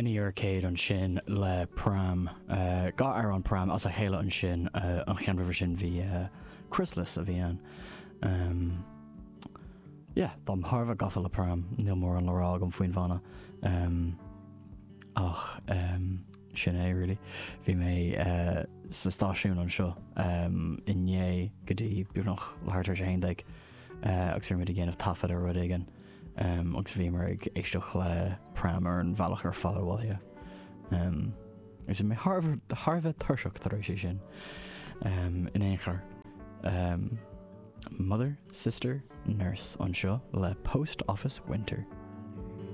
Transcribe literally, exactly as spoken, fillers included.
Penny Arcade ansin le Pram uh, dhá amhrán Pram as a chéile ansin uh, an ceann roimhe sin bhí uh, Chrysalis a bhí ann. Um, yeah, Táim thar a bheith gafa le Pram níl mórán le rá agam faoin bhanna. Um, ach um, sin é really. Bhí mé uh, sa stáisiún anseo um, inné go dtí beagnach leathuair tar éis a haon déag uh, agus bhí muid ag déanamh taifead ar rud éigin. Um, agus bhí mé ag éisteacht le Pram ar an bhealach ar fad abhaile. Um, agus mé thar a bheith tuirseach tar éis sin um, in aon chor. Um, Mother, Sister, Nurse anseo le Post Office Winter.